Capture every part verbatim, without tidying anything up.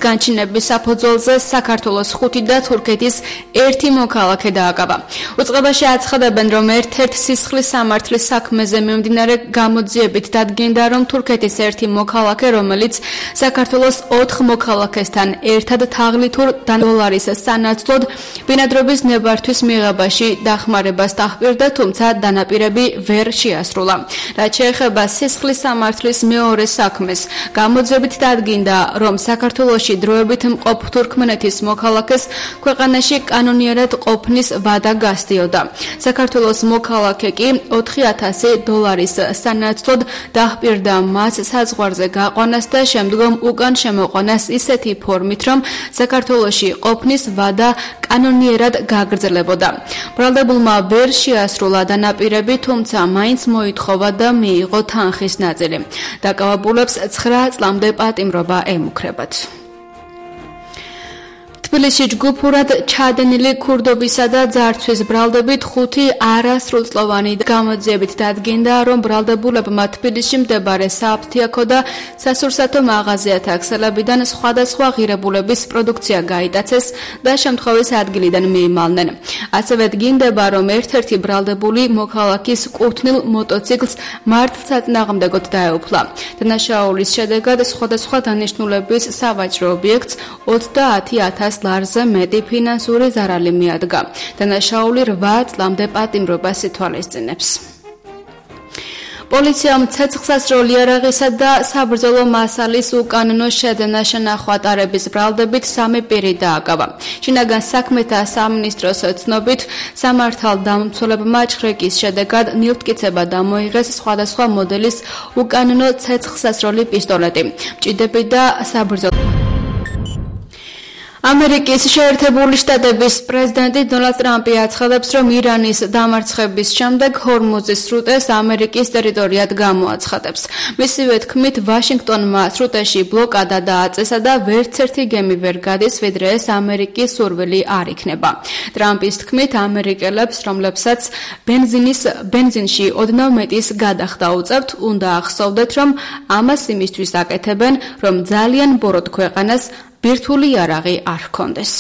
განჩინების საფუძველზე საქართველოს ხუთი და თურქეთის ერთი მოქალაქე დააკავა. უწყებაში აცხადებენ, რომ ერთ-ერთ სისხლის სამართლის საქმეზე მიმდინარე გამოძიებით დადგენდა, რომ თურქეთის ერთი მოქალაქე, რომელიც საქართველოს ოთხ მოქალაქესთან ერთად თაღლითურ დოლარის სანაცვლოდ ბინადრობის ნებართვის მიღებაში დახმარებას დაჰპირდა, თუმცა დანაპირები ვერ შეასრულა. რაც შეეხება სისხლის სამართლის მეორე საქმეს, გამოძიებით დადგინდა, რომ საქართველოში დროებით მყოფ თურქმენეთის მოქალაქეს ქვეყანაში კანონიერად ყოფნის ვადა გასდიოდა. საქართველოს მოქალაქე კი ოთხი ათასი დოლარის სანაცვლოდ დაჰპირდა მას საზღვარზე გაყვანას და შემდგომ უკან შემოყვანას ისეთი ფორმით, რომ საქართველოში ყოფნის ვადა კანონიერად გაგრძელებოდა. ბრალდებულმა ვერ შეასრულა დანაპირები, თუმცა მაინც მოითხოვა და მიიღო თანხის ნაწილი. დაკავებულებს ცხრა წლამდე პატიმრობა ემუქრებათ. თბილისში ჯგუფურად ჩადენილი ქურდობისა და ძარცვის ბრალდებით ხუთი არასრულწლოვანი გამოძიებით დადგინდა, რომ ბრალდებულებმა თბილისში მდებარე სააფთიაქო და სასურსათო მაღაზიათა ქსელებიდან სხვადასხვა ღირებულების პროდუქცია გაიტაცეს და შემთხვევის ადგილიდან მიიმალნენ. ასევე დგინდება, რომ ერთ-ერთი ბრალდებული მოქალაქის კუთვნილ მოტოციკლს მართლსაწინააღმდეგოდ დაეუფლა. დანაშაულის შედეგად სხვადასხვა დანიშნულების სავაჭრო ობიექტს ოცდაათი ათას ლარზე მეტი ფინანსური ზარალი მიადგა. დანაშაული რვა წლამდე პატიმრობას ითვალისწინებს. პოლიციამ ცეცხლსასროლი იარაღისა და საბრძოლო მასალის უკანონო შეძენა შენახვატარების ბრალდებით სამი პირი დააკავა. შინაგან საქმეთა სამინისტროს ცნობით, სამართალდამცველებმა ჩხრეკის შედეგად ნილტკიცება დამოიღეს სხვადასხვა მოდელის უკანონო ცეცხლსასროლი პისტოლეტი, მჭიდები და საბრძოლო. ამერიკის შეერთებული შტატების პრეზიდენტი დონალდ ტრამპი აცხადებს, რომ ირანის დამარცხების შემდეგ ჰორმუზის სრუტეს ამერიკის ტერიტორიად გამოაცხადებს. მისივე თქმით, ვაშინგტონმა სრუტეში ბლოკადა დააწესა და ვერცერთი გემი ვერ გადის, ვიდრე ეს ამერიკის სურვილი არ იქნება. ტრამპის თქმით, ამერიკელებს, რომლებსაც ბენზინის ბენზინში ოდნავ მეტის გადახდა უწევთ, უნდა ახსოვდეთ, რომ ამას იმისთვის აკეთებენ, რომ ძალიან ბოროტ ქვეყანას ბირთვული იარაღი არ ჰქონდეს.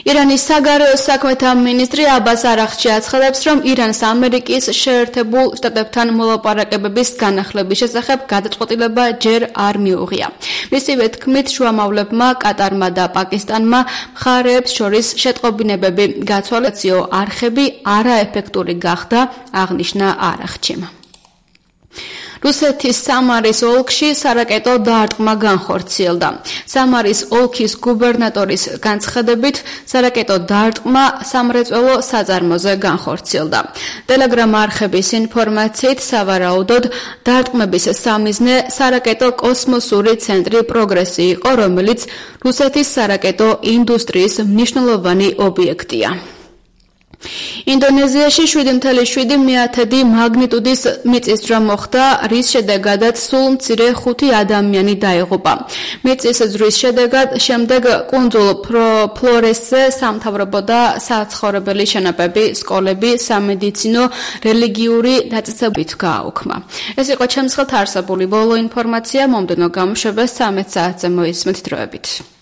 ირანის საგარეო საქმეთა მინისტრი აბას არაღჩი აცხადებს, რომ ირანს ამერიკის შეერთებულ შტატებთან მოლაპარაკებების განახლების შესახებ გადაწყვეტილება ჯერ არ მიუღია. მისივე თქმით, შუამავლებმა, კატარმა და პაკისტანმა მხარეებს შორის შეტყობინებები გაცვალეციო არხები არაეფექტური გახდა, აღნიშნა არაღჩიმ. რუსეთის სამარის ოლქში სარაკეტო დაარტყმა განხორციელდა. სამარის ოლქის გუბერნატორის განცხადებით, სარაკეტო დაარტყმა სამრეწველო საწარმოზე განხორციელდა. ტელეგრამ არხების ინფორმაციით, სავარაუდოდ დაარტყმების სამიზნე სარაკეტო კოსმოსური ცენტრი პროგრესი იყო, რომელიც რუსეთის სარაკეტო ინდუსტრიის მნიშვნელოვანი ობიექტია. ინდონეზიაში შვიდი ათეული მეათედი მაგნიტუდის მიწისძვრა მოხდა, რის შედეგადაც სულ მცირე ხუთი ადამიანი დაიღუპა. მიწის ზვრის შედეგად შემდეგ კუნძულ ფლორესზე სამთავრობო და საცხოვრებელი შენობები, სკოლები, სამედიცინო, რელიგიური დაწესებებით გააუქმა. ეს იყო ჩემს ხელთ არსებული ბოლო ინფორმაცია, მომდევნო გამოშვებას ცამეტ საათზე მოისმენთ დროებით.